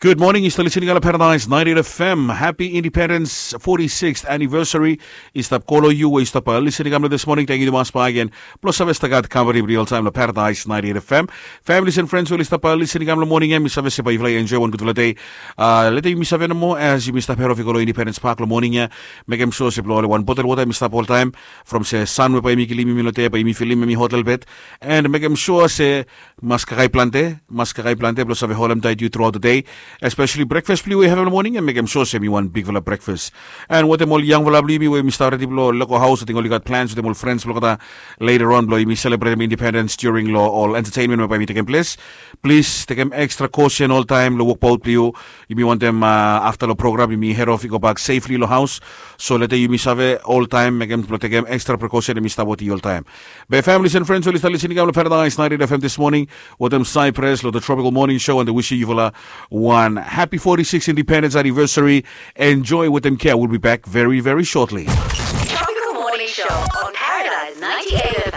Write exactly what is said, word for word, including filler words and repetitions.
Gud moning, yu stap lisin i kam long Paradise ninety-eight F M. Happy Independence forty-sixth anniversary. I stap kolo yu we yu stap lisin i kam long this morning. Thank you tumas bak again. Blong save stap gat company blo yu oltaem long Paradise ninety-eight F M. Families and friends we oli stap lisin i kam long moning ya, mi save se bae yufala i enjoy wan gudfala dei. Leta yumi save nomo as yumi stap head off i go long Independence Park long moning ya. Mekem sua se blo oli wan botel wota yumi stap oltaem. From se san we bae yumi kilim yumi long dei bae yumi filim yumi hot lelebet. And mekem sua se mas kakae plante, mas kakae plante blong save holem taet yu throughout the day. Especially breakfast blong yu we yu havem long moning ya, mekem sua se mi wan bigfala breakfast. And wetem ol yangfala blong yumi we yumi stap redi blong lego haos, ating oli gat plans wetem ol friends blong olgeta later on blong yumi selebretem independence during long ol entertainment we bae yumi tekem ples. Plis tekem extra caution oltaem long wokbaot blong yu. Yumi wantem afta long program yumi head off i gobak safely long haos. So leta yumi save oltaem mekem blong tekem extra precaution, yumi stap wetem yu oltaem. Be families and friends oli stap lisin i kam long Paradise ninety-eight F M this morning wetem Cypress long the Tropical Morning Show, and wisim yufala wan happy forty-sixth independence anniversary. Enjoy wetem Kia. We'll be back very, very shortly. Tropical Morning Show on Paradise ninety-eight F M.